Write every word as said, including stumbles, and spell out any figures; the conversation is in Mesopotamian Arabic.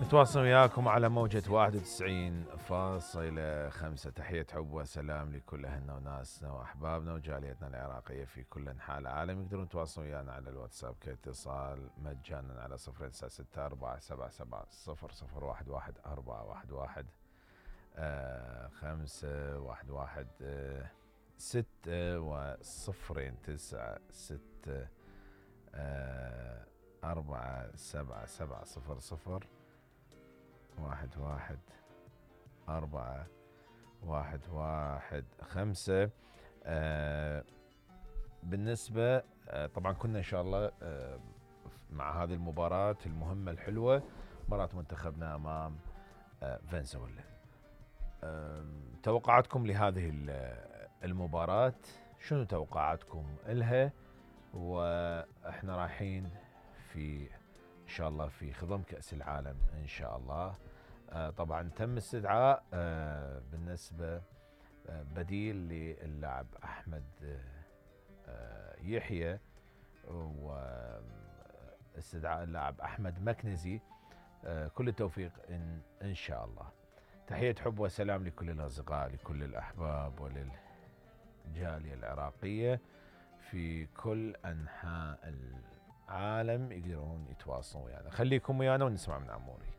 نتواصل وياكم على موجة واحد وتسعين فاصلة خمسة. تحية حب وسلام لكل أهلنا وناسنا وأحبابنا وجاليتنا العراقية في كل أنحاء العالم. يقدرون يتواصلون ويانا على الواتساب كاتصال مجانا على صفر تسعة ستة أربعة سبعة سبعة صفر صفر واحد واحد أربعة واحد واحد آه خمسة واحد واحد آه ستة وصفرين تسعة ستة آه أربعة سبعة سبعة صفر صفر واحد واحد أربعة واحد واحد خمسة. آه بالنسبة آه طبعا كنا إن شاء الله آه مع هذه المباراة المهمة الحلوة، مباراة منتخبنا أمام آه فنزويلا. آه توقعاتكم لهذه المباراة، شنو توقعاتكم إلها؟ وإحنا رايحين في إن شاء الله في خضم كأس العالم إن شاء الله. آه طبعا تم استدعاء آه بالنسبة آه بديل للاعب أحمد آه يحيى، واستدعاء اللاعب أحمد مكنزي. آه كل التوفيق إن, إن شاء الله. تحية حب وسلام لكل الأصدقاء، لكل الأحباب وللجالية العراقية في كل أنحاء العالم. يقدرون يتواصلون ويانا. خليكم ويانا ونسمع من عموري.